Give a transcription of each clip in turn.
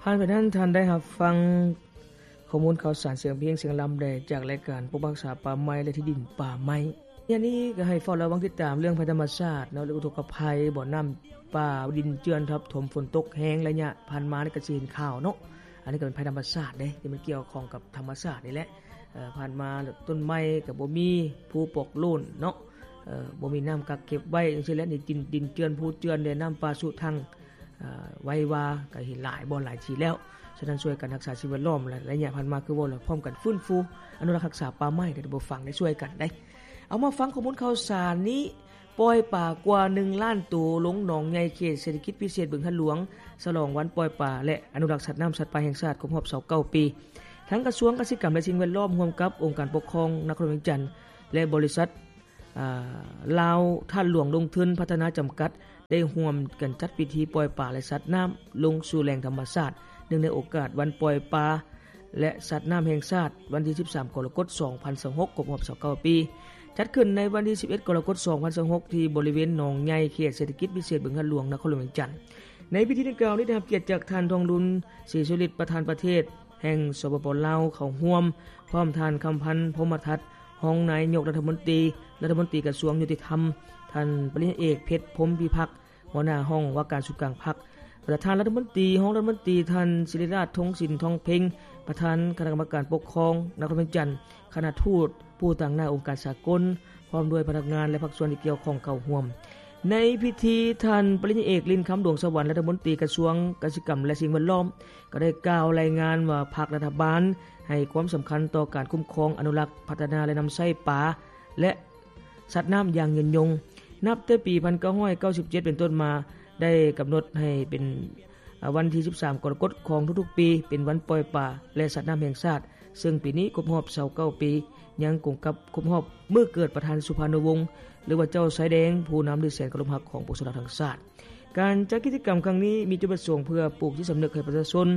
ຜ່ານໄປນັ້ນ ທ່ານໄດ້ຮັບຟັງຂໍ້ມູນຂ່າວສານ ສຽງເພງ ສຽງລຳແດ່ ຈາກລາຍການປົກປັກຮັກສາປ່າໄມ້ ແລະ ທີ່ດິນປ່າໄມ້. ອັນນີ້ກໍໃຫ້ເຝົ້າລະວັງຕິດຕາມເລື່ອງໄພທຳມະຊາດເນາະ ຫຼື ອຸທົກກະໄພ ບໍ່ນ້ຳປ່າດິນເຈື່ອນທັບຖົມ ຝົນຕົກແຮງໄລຍະຜ່ານມານີ້ ກໍຊິເຫັນຂ່າວເນາະ. ອັນນີ້ກໍເປັນໄພທຳມະຊາດເດ້ ທີ່ມັນກ່ຽວຂ້ອງກັບທຳມະຊາດນີ້ແຫຼະ. ເອີ ຜ່ານມາຕົ້ນໄມ້ກໍບໍ່ມີ ພູປອກໂລ້ນເນາະ ເອີ ບໍ່ມີນ້ຳກັກເກັບໄວ້ ຈັ່ງຊີ້ແຫຼະ. ນີ້ດິນ ດິນເຈື່ອນ ພູເຈື່ອນແດ່ ນ້ຳປ່າຊຸທັ່ງ ເອີ ໄວວາ ກໍເຫັນຫຼາຍບ່ອນຫຼາຍທີ່ແລ້ວ. ສະນັ້ນ ຊ່ວຍກັນຮັກສາສິ່ງແວດລ້ອມ ແລະ ໄລຍະຜ່ານມາ ຄືເວົ້າແລ້ວ ພ້ອມກັນຟື້ນຟູອະນຸລັກຮັກສາປ່າໄມ້ ເດີທ່ານຜູ້ຟັງ ໄດ້ຊ່ວຍກັນໄດ໋. ເອົາ ມາຟັງຂໍ້ມູນຂ່າວສານນີ້. ປ່ອຍປາກວ່າໜຶ່ງລ້ານໂຕ ລົງໜອງໃຫຍ່ເຂດເສດຖະກິດພິເສດບຶງທາດຫຼວງ ສະຫຼອງວັນປ່ອຍປາ ແລະ ອະນຸລັກສັດນ້ຳສັດປ່າແຫ່ງຊາດ ຄົບຮອບຊາວເກົ້າປີ. ທາງກະຊວງກະສິກຳ ແລະ ສິ່ງແວດລ້ອມ ຮ່ວມກັບອົງການປົກຄອງນະຄອນຫຼວງວຽງຈັນ ແລະ ບໍລິສັດ ອາ ລາວທາດຫຼວງລົງທຶນພັດທະນາຈຳກັດ ໄດ້ຮ່ວມກັນຈັດພິທີປ່ອຍປາ ແລະ ສັດນ້ຳລົງສູ່ແຫຼ່ງທຳມະຊາດ ເນື່ອງໃນໂອກາດວັນປ່ອຍປາ ແລະ ສັດນ້ຳແຫ່ງຊາດ ວັນທີສິບສາມ ກໍລະກົດ ສອງພັນຊາວຫົກ ຄົບຮອບຊາວເກົ້າປີ ຈັດຂຶ້ນໃນວັນທີສິບເອັດ ກໍລະກົດ ສອງພັນຊາວຫົກ ທີ່ບໍລິເວນໜອງໃຫຍ່ ເຂດເສດຖະກິດພິເສດບຶງທາດຫຼວງ ນະຄອນຫຼວງວຽງຈັນ. ໃນພິທີດັ່ງກ່າວນີ້ ໄດ້ຮັບກຽດຈາກທ່ານ ທອງລຸນ ສີສຸລິດ ປະທານປະເທດແຫ່ງ ສປປ ລາວ ເຂົ້າຮ່ວມ, ພ້ອມທ່ານ ຄຳພັນ ພົມມະທັດ ຮອງນາຍົກລັດຖະມົນຕີ, ລັດຖະມົນຕີກະຊວງຍຸຕິທຳ, ທ່ານ ປະລິນຍາເອກ ເພັດ ພົມພິພັກ ຫົວໜ້າຫ້ອງວ່າການສູນກາງພັກ, ແລະ ທ່ານລັດຖະມົນຕີ, ຮອງລັດຖະມົນຕີ, ທ່ານ ສິລິລາດ ທົງສິນ ທອງເພັງ ປະທານຄະນະກຳມະການປົກຄອງນະຄອນວຽງຈັນ, ຄະນະທູດ, ຜູ້ຕາງໜ້າອົງການສາກົນ, ພ້ອມດ້ວຍພະນັກງານ ແລະ ພາກສ່ວນທີ່ກ່ຽວຂ້ອງເຂົ້າຮ່ວມ. ໃນພິທີ, ທ່ານ ປະລິນຍາເອກ ລິນຄຳ ດວງສະຫວັນ ລັດຖະມົນຕີກະຊວງກະສິກຳ ແລະ ສິ່ງແວດລ້ອມ ກໍໄດ້ກ່າວລາຍງານວ່າ ພັກລັດຖະບານໃຫ້ຄວາມສຳຄັນຕໍ່ການຄຸ້ມຄອງ, ອະນຸລັກ, ພັດທະນາ ແລະ ນຳໃຊ້ປາ ແລະ ສັດນ້ຳຢ່າງຍືນຍົງ. ນັບແຕ່ປີພັນເກົ້າຮ້ອຍເກົ້າສິບເຈັດເປັນຕົ້ນມາ ໄດ້ກຳນົດໃຫ້ເປັນ ອາ ວັນທີສິບສາມ ກໍລະກົດຂອງທຸກໆປີ ເປັນວັນປ່ອຍປາ ແລະ ສັດນ້ຳແຫ່ງຊາດ, ເຊິ່ງປີນີ້ຄົບຮອບຊາວເກົ້າປີ, ຍັງກົງກັບຄົບຮອບມື້ເກີດປະທານສຸພານຸວົງ ຫຼືວ່າເຈົ້າຊາຍແດງ ຜູ້ນຳທີ່ແສນເຄົາລົບຮັກຂອງປວງຊົນລາວທັງຊາດ. ການຈັດກິດຈະກຳຄັ້ງນີ້ ມີຈຸດປະສົງເພື່ອປູກຈິດສຳນຶກໃຫ້ປະຊາຊົນ,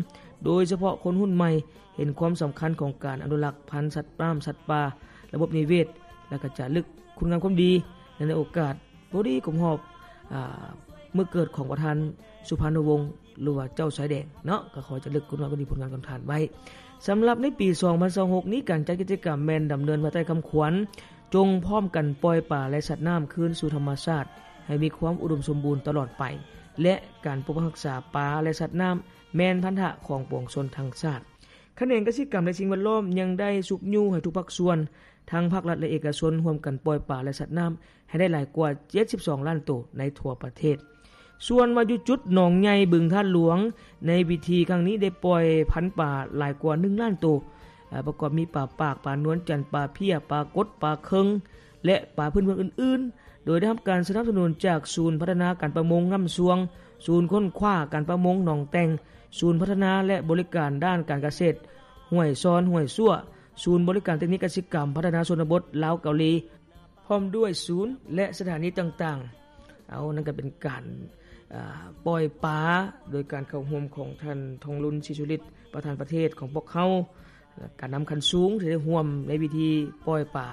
ໂດຍສະເພາະຄົນຮຸ່ນໃໝ່, ເຫັນຄວາມສຳຄັນຂອງການອະນຸລັກພັນສັດນ້ຳສັດປ່າ, ລະບົບນິເວດ ແລະ ກະຈາລຶກຄຸນງາມຄວາມດີ. ແລະ ໃນໂອກາດພໍດີຄົບຮອບ ອາ ມື້ເກີດຂອງປະທານສຸພານຸວົງ ຫຼືວ່າເຈົ້າຊາຍແດງເນາະ, ກໍຂໍຈາລຶກຄຸນງາມຄວາມດີ ຜົນງານຂອງທ່ານໄວ້. ສຳລັບໃນປີສອງພັນຊາວຫົກນີ້, ການຈັດກິດຈະກຳແມ່ນດຳເນີນພາຍໃຕ້ຄຳຂວັນ ຈົ່ງພ້ອມກັນປ່ອຍປາ ແລະ ສັດນ້ຳຄືນສູ່ທຳມະຊາດ ໃຫ້ມີຄວາມອຸດົມສົມບູນຕະຫຼອດໄປ ແລະ ການປົກປັກຮັກສາປາ ແລະ ສັດນ້ຳ ແມ່ນພັນທະຂອງປວງຊົນທັງຊາດ. ຂະແໜງກະສິກຳ ແລະ ສິ່ງແວດລ້ອມ ຍັງໄດ້ຊຸກຍູ້ໃຫ້ທຸກພາກສ່ວນ ທັງພາກລັດ ແລະ ເອກະຊົນ ຮ່ວມກັນປ່ອຍປາ ແລະ ສັດນ້ຳ ໃຫ້ໄດ້ຫຼາຍກວ່າເຈັດສິບສອງລ້ານໂຕໃນທົ່ວປະເທດ. ສ່ວນວ່າຢູ່ຈຸດໜອງໃຫຍ່ ບຶງທາດຫຼວງ, ໃນພິທີຄັ້ງນີ້ໄດ້ປ່ອຍພັນປາຫຼາຍກວ່າໜຶ່ງລ້ານໂຕ, ອາ ປະກອບມີປາປາກ, ປານວນຈັນ, ປາເພຍ, ປາກົດ, ປາເຄິງ ແລະ ປາພື້ນເມືອງອື່ນໆ, ໂດຍໄດ້ຮັບການສະໜັບສະໜູນຈາກສູນພັດທະນາການປະມົງນ້ຳຊວງ, ສູນຄົ້ນຄວ້າການປະມົງໜອງແຕ່ງ, ສູນພັດທະນາ ແລະ ບໍລິການດ້ານການກະເສດຫ້ວຍຊອນ, ຫ້ວຍຊົ່ວ, ສູນບໍລິການເຕັກນິກກະສິກຳພັດທະນາຊົນນະບົດລາວເກົາຫຼີ, ພ້ອມດ້ວຍສູນ ແລະ ສະຖານີຕ່າງໆ. ເອົາ ນັ້ນກໍເປັນການ ອາ ປ່ອຍປາ ໂດຍການເຂົ້າຮ່ວມຂອງທ່ານ ທອງລຸນ ສີສຸລິດ ປະທານປະເທດຂອງພວກເຮົາ, ການນຳຂັ້ນສູງທີ່ໄດ້ຮ່ວມໃນພິທີປ່ອຍປາ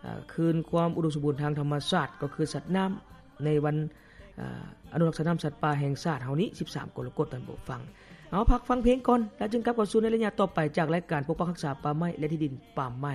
ອາ ຄືນຄວາມອຸດົມສົມບູນທາງທຳມະຊາດ ກໍຄືສັດນ້ຳ ໃນວັນ ອາ ອະນຸລັກສັດນ້ຳສັດປ່າແຫ່ງຊາດເຮົານີ້ ສິບສາມ ກໍລະກົດ ທ່ານຜູ້ຟັງ. ເອົາ ພັກຟັງເພງກ່ອນ ແລ້ວຈຶ່ງກັບເຂົ້າສູ່ໃນໄລຍະຕໍ່ໄປ ຈາກລາຍການປົກປັກຮັກສາປ່າໄມ້ ແລະ ທີ່ດິນປ່າໄມ້.